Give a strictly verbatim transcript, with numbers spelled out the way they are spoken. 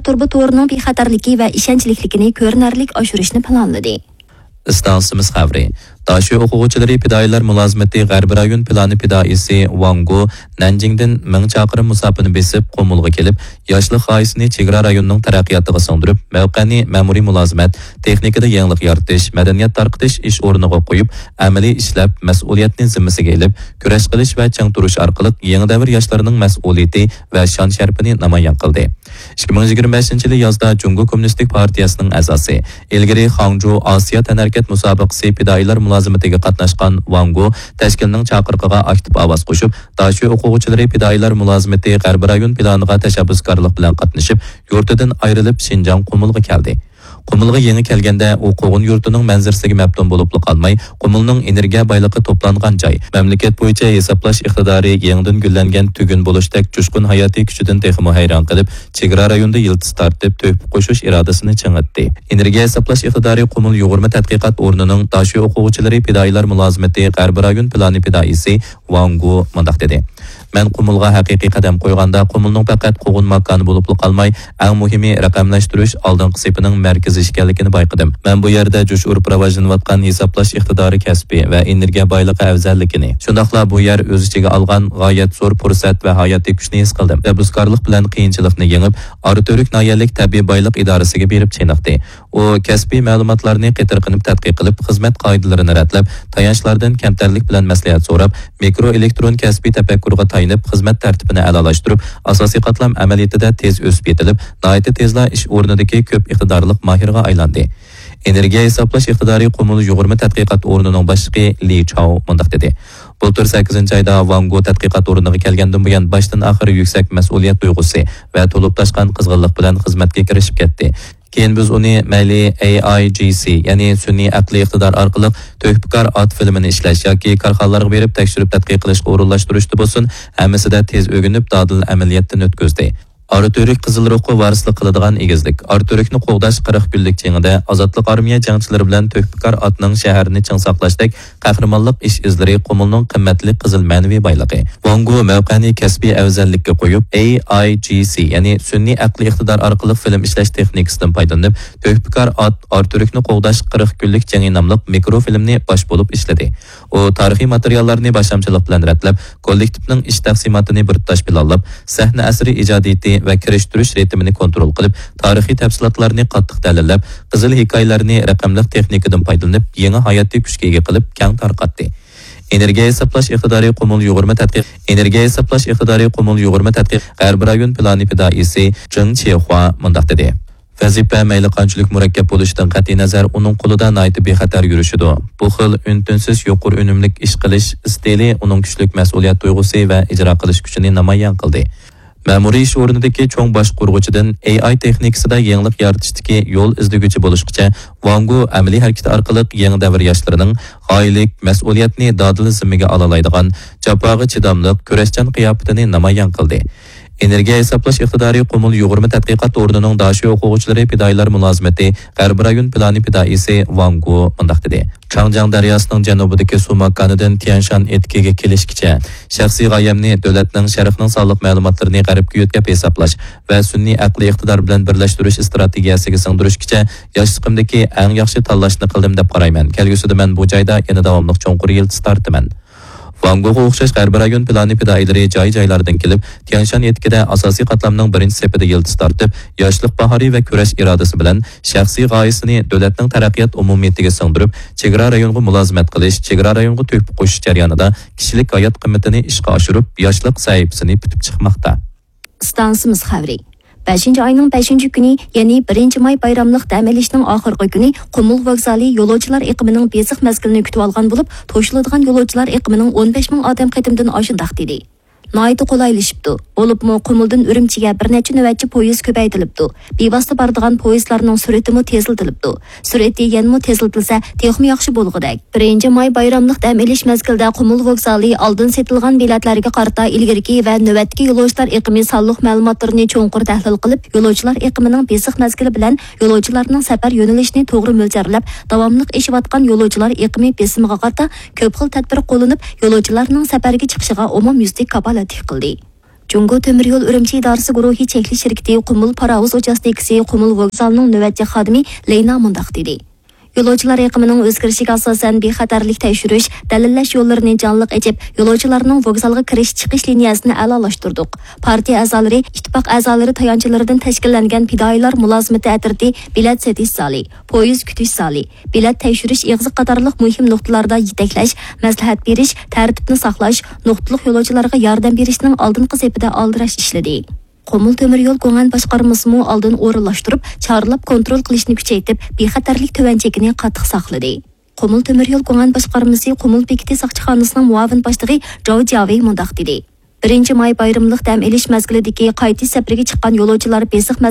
تۇرۇبا تورىنىڭ بىخەتەرلىكى ۋە ئىشەنچلىكلىكىنى كۆرۈنەرلىك ئاشۇرۇشنى پىلانلىدى. ئىستانسىمىز خەۋىرى. داشۆ ئوقۇغۇچىلىرى پىدائىيلار مۇلازىمىتى غەربىي رايون پىلانى پىدائىيسى ۋاڭ گو نەنجىڭدىن مىڭ چاقىرىم مۇساپىنى بېسىپ، قۇمۇلغا كېلىپ، ياشلىق غايىسىنى چېگرا رايونىنىڭ تەرەققىياتىغا سىڭدۈرۈپ، مەۋقەنى مەمۇرىي مۇلازىمەت، تېخنىكىدا يېڭىلىق يارىتىش، مەدەنىيەت تارقىتىش ئىش ئورنىغا قويۇپ، ئەمەلىي ئىشلەپ، مەسئۇلىيەتنى زىممىسىگە ئېلىپ، كۈرەش قىلىش ۋە چىڭ تۇرۇش ئارقىلىق يېڭى دەۋر ياشلىرىنىڭ مەسئۇلىيىتى ۋە شان-شەرىپىنى نامايان قىلدى. ئىككى مىڭ يىگىرمە بەشىنچى يىلى يازدا جۇڭگو كوممۇنىستىك پارتىيەسىنىڭ ئەزاسى، ئىلگىرى خاڭجۇ ئاسىيا تەنھەرىكەت مۇسابىقىسى پىدائىيلار مۇلازىمىتىگە قاتناشقان ۋاڭ گو تەشكىلنىڭ چاقىرىقىغا ئاكتىپ ئاۋاز قوشۇپ، داشۆ ئوقۇغۇچىلىرى پىدائىيلار مۇلازىمىتى غەربىي رايون پىلانىغا تەشەببۇسكارلىق بىلەن قاتنىشىپ، يۇرتىدىن ئايرىلىپ، شىنجاڭ قۇمۇلغا كەلدى. قۇمۇلغا يېڭى كەلگەندە، ئۇ قوغۇن يۇرتىنىڭ مەنزىرىسىگە مەپتۇن بولۇپلا قالماي، قۇمۇلنىڭ ئېنېرگىيە بايلىقى توپلانغان جاي، مەملىكەت بويىچە ھېسابلاش ئىقتىدارى يېڭىدىن گۈللەنگەن تۈگۈن بولۇشتەك جۇشقۇن ھاياتىي كۈچىدىن تېخىمۇ ھەيران قېلىپ، چېگرا رايوندا يىلتىز تارتىپ، تۆھپە قوشۇش ئىرادىسىنى چىڭىتتى. ئېنېرگىيە ھېسابلاش ئىقتىدارى قۇمۇل يۇغۇرما تەتقىقات ئورنىنىڭ داشۆ ئوقۇغۇچىلىرى پىدائىيلار مۇلازىمىتى غەربىي رايون پىلانى پىدائىيسى ۋاڭ گو مۇنداق دېدى: مەن قۇمۇلغا ھەقىقىي قەدەم قويغاندا، قۇمۇلنىڭ پەقەت قوغۇن ماكانى بولۇپلا قالماي، ئەڭ مۇھىمى، رەقەملەشتۈرۈش ئالدىنقى سېپىنىڭ مەركىزى ئىكەنلىكىنى بايقىدىم. مەن بۇ يەردە جۇش ئۇرۇپ راۋاجلىنىۋاتقان ھېسابلاش ئىقتىدارى كەسپى ۋە ئېنېرگىيە بايلىقى ئەۋزەللىكىنى، شۇنداقلا بۇ يەر ئۆز ئىچىگە ئالغان غايەت زور پۇرسەت ۋە ھاياتىي كۈچنى ھېس قىلدىم. تەشەببۇسكارلىق بىلەن قىيىنچىلىقنى يېڭىپ، ئاراتۈرك ناھىيەلىك تەبىئىي بايلىق ئىدارىسىگە بېرىپ چېنىقتى. ئۇ كەسپىي مەلۇماتلارنى قېتىرقىنىپ تەتقىق قىلىپ، خىزمەت قائىدىلىرىنى رەتلەپ، تايانچلاردىن كەمتەرلىك بىلەن مەسلىھەت سوراپ، مىكرو ئېلېكترون كەسپىي تەپەككۇرغا تايىنىپ، خىزمەت تەرتىپىنى ئەلالاشتۇرۇپ، ئاساسىي قاتلام ئەمەلىيىتىدە تېز ئۆسۈپ يېتىلىپ، ناھايىتى تېزلا ئىش ئورنىدىكى كۆپ ئىقتىدارلىق ماھىرغا ئايلاندى. ئېنېرگىيە ھېسابلاش ئىقتىدارى قۇمۇل يۇغۇرما تەتقىقات ئورنىنىڭ باشلىقى لى چاۋ مۇنداق دېدى: بۇلتۇر سەككىزىنچى ئايدا ۋاڭ گو تەتقىقات ئورنىغا كەلگەندىن بۇيان، باشتىن ئاخىر يۈكسەك مەسئۇلىيەت تۇيغۇسى ۋە تولۇپ تاشقان قىزغىنلىق بىلەن خىزمەتكە كىرىشىپ كەتتى. كېيىن بىز ئۇنى مەيلى ئەي ئاي جى سى، يەنى سۈنئىي ئەقلىي ئىقتىدار ئارقىلىق تۆھپىكار ئات فىلىمىنى ئىشلەش ياكى كارخانىلارغا بېرىپ تەكشۈرۈپ تەتقىق قىلىشقا ئورۇنلاشتۇرۇشتا بولسۇن، ھەممىسىدە تېز ئۆگىنىپ، دادىل ئەمەلىيەتتىن ئۆتكۈزدى. ئاراتۈرك قىزىل روھقا ۋارىسلىق قىلىدىغان ئېگىزلىك. ئاراتۈركنى قوغداش قىرىق كۈنلۈك جېڭىدە ئازادلىق ئارمىيە جەڭچىلىرى بىلەن تۆھپىكار ئاتنىڭ شەھەرنى چىڭ ساقلاشتەك قەھرىمانلىق ئىش ئىزلىرى قۇمۇلنىڭ قىممەتلىك قىزىل مەنىۋى بايلىقى. ۋاڭ گو مەۋقەنى كەسپىي ئەۋزەللىككە قويۇپ، ئەي ئاي جى سى، يەنى سۈنئىي ئەقلىي ئىقتىدار ئارقىلىق فىلىم ئىشلەش تېخنىكىسىدىن پايدىلىنىپ، تۆھپىكار ئات ئاراتۈركنى قوغداش قىرىق كۈنلۈك جېڭى ناملىق مىكرو فىلىمنى باش بولۇپ ئىشلىدى. ئۇ تارىخىي ماتېرىياللارنى باشلامچىلىق بىلەن رەتلەپ، كوللېكتىپنىڭ ئىش تەقسىماتىنى بىر تۇتاش پىلانلاپ، سەھنە ئەسىرى ئىجادىيىتى ۋە كىرىشتۈرۈش رىتىمىنى كونترول قىلىپ، تارىخىي تەپسىلاتلارنى قاتتىق دەلىللەپ، قىزىل ھېكايىلەرنى رەقەملىك تېخنىكىدىن پايدىلىنىپ، يېڭى ھاياتىي كۈچكە ئىگە قىلىپ، كەڭ تارقاتتى. ئېنېرگىيە ھېسابلاش ئىقتىدارى قۇمۇل يۇغۇرما تەتقىق، ئېنېرگىيە ھېسابلاش ئىقتىدارى قۇمۇل يۇغۇرما تەتقىق غەربىي رايون پىلانى پىدائىيسى جېڭ چېخۇا مۇنداق دېدى: ۋەزىپە مەيلى قانچىلىك مۇرەككەپ بولۇشىدىن قەتئىينەزەر، ئۇنىڭ قولىدا ناھايىتى بىخەتەر يۈرۈشىدۇ. بۇ خىل ئۈن-تىنسىز يۇقىرى ئۈنۈملۈك ئىش قىلىش ئىستىلى ئۇنىڭ كۈچلۈك مەسئۇلىيەت تۇيغۇسى ۋە ئىجرا قىلىش كۈچىنى نامايان قىلدى. مەمۇرىي ئىش ئورنىدىكى چوڭ باشقۇرغۇچىدىن ئەي ئاي تېخنىكىسىدا يېڭىلىق يارىتىشتىكى يول ئىزدىگۈچى بولۇشقىچە، ۋاڭ گو ئەمەلىي ھەرىكىتى ئارقىلىق يېڭى دەۋر ياشلىرىنىڭ غايىلىك، مەسئۇلىيەتنى دادىل زىممىگە ئالالايدىغان، جاپاغا چىداملىق، كۈرەشچان قىياپىتىنى نامايان قىلدى. ئېنېرگىيە ھېسابلاش ئىقتىدارى قۇمۇل يۇغۇرما تەتقىقات ئورنىنىڭ داشۆ ئوقۇغۇچىلىرى پىدائىيلار مۇلازىمىتى غەربىي رايون پىلانى پىدائىيسى ۋاڭ گو مۇنداق دېدى: چاڭجياڭ دەرياسىنىڭ جەنۇبىدىكى سۇ ماكانىدىن تيەنشان ئېتىكىگە كېلىشكىچە، شەخسىي غايەمنى دۆلەتنىڭ شەرقنىڭ سانلىق مەلۇماتلىرىنى غەربكە يۆتكەپ ھېسابلاش ۋە سۈنئىي ئەقلىي ئىقتىدار بىلەن بىرلەشتۈرۈش ئىستراتېگىيەسىگە سىڭدۈرۈشكىچە ياشلىقىمدىكى ئەڭ ياخشى تاللاشنى قىلدىم دەپ قارايمەن. كەلگۈسىدە مەن بۇ جايدا يەنە داۋاملىق چوڭقۇر يىلتىز تارتىمەن. ۋاڭ گوغا ئوخشاش غەربىي رايون پىلانى پىدائىيلىرى جاي-جايلاردىن كېلىپ، تيەنشان ئېتىكىدە ئاساسىي قاتلامنىڭ بىرىنچى سېپىدە يىلتىز تارتىپ، ياشلىق باھارى ۋە كۈرەش ئىرادىسى بىلەن شەخسىي غايىسىنى دۆلەتنىڭ تەرەققىيات ئومۇمىيىتىگە سىڭدۈرۈپ، چېگرا رايونغا مۇلازىمەت قىلىش، چېگرا رايونغا تۆھپە قوشۇش جەريانىدا كىشىلىك ھايات قىممىتىنى ئىشقا ئاشۇرۇپ، ياشلىق سەھىپىسىنى پۈتۈپ چىقماقتا. ئىستانسىمىز خەۋىرى. بەشىنچى ئاينىڭ بەشىنچى كۈنى، يەنى بىرىنچى ماي بايراملىق دەم ئېلىشنىڭ ئاخىرقى كۈنى قۇمۇل ۋوگزالى يولۇچىلار ئېقىمىنىڭ بېسىق مەزگىلىنى كۈتۈۋالغان بولۇپ، توشۇلىدىغان يولۇچىلار ئېقىمىنىڭ ئون بەش مىڭ ئادەم قېتىمدىن ئاشىدۇ دېدى. ناھايىتى قولايلىشىپتۇ. بولۇپمۇ قۇمۇلدىن ئۈرۈمچىگە بىر نەچچە نۆۋەتچى پويىز كۆپەيتىلىپتۇ. بىۋاسىتە بارىدىغان پويىزلارنىڭ سۈرئىتىمۇ تېزلىتىلىپتۇ. سۈرئىتى يەنىمۇ تېزلىتىلسە، تېخىمۇ ياخشى بولغۇدەك. بىرىنچى ماي بايراملىق دەم ئېلىش مەزگىلىدە قۇمۇل ۋوگزالى ئالدىن سېتىلغان بېلەتلەرگە قارىتا ئىلگىرىكى ۋە نۆۋەتتىكى يولۇچىلار ئېقىمى سانلىق مەلۇماتلىرىنى چوڭقۇر تەھلىل قىلىپ، يولۇچىلار ئېقىمىنىڭ بېسىق مەزگىلى بىلەن يولۇچىلارنىڭ سەپەر يۆنىلىشىنى توغرا مۆلچەرلەپ، داۋاملىق ئېشىۋاتقان يولۇچىلار ئېقىمى بېسىمىغا قارىتا كۆپ خىل تەدبىر قوللىنىپ، يولۇچىلارنىڭ سەپەرگە چىقىشىغا ئومۇميۈزلۈك كاپالەتلىك قىلدى. جۇڭگو تۆمۈر يول ئۈرۈمچى ئىدارىسى گۇرۇھى چەكلىك شىركىتى قۇمۇل پاراۋۇز ئوچاستىكىسى قۇمۇل ۋوگزالىنىڭ نۆۋەتچى خادىمى لەينا مۇنداق دېدى: يولۇچىلار ئېقىمىنىڭ ئۆزگىرىشىگە ئاساسەن، بىخەتەرلىك تەكشۈرۈش، دەلىللەش يوللىرىنى جانلىق ئېچىپ، يولۇچىلارنىڭ ۋوگزالغا كىرىش چىقىش لىنىيەسىنى ئەلالاشتۇردۇق. پارتىيە ئەزالىرى، ئىتتىپاق ئەزالىرى تايانچلىرىدىن تەشكىللەنگەن پىدائىيلار مۇلازىمىتى ئەترىتى بېلەت سېتىش زالى، پويىز كۈتۈش زالى، بېلەت تەكشۈرۈش ئېغىزى قاتارلىق مۇھىم نۇقتىلاردا يېتەكلەش، مەسلىھەت بېرىش، تەرتىپنى ساقلاش، نۇقتىلىق يولۇچىلارغا ياردەم بېرىشنىڭ ئالدىنقى سېپىدە ئالدىراش ئىشلىدى. قۇمۇل تۆمۈر يول گۇڭئەن باشقارمىسىمۇ ئالدىن ئورۇنلاشتۇرۇپ، چارلاپ كونترول قىلىشنى كۈچەيتىپ، بىخەتەرلىك تۆۋەن چېكىنى قاتتىق ساقلىدى. قۇمۇل تۆمۈر يول گۇڭئەن باشقارمىسى قۇمۇل بېكىتى ساقچىخانىسىنىڭ مۇئاۋىن باشلىقى جاۋ جياۋېي مۇنداق دېدى: بىرىنچى ماي بايرىملىق دەم ئېلىش مەزگىلىدىكى قايتىش سەپىرىگە چىققان يولۇچىلار بېسىق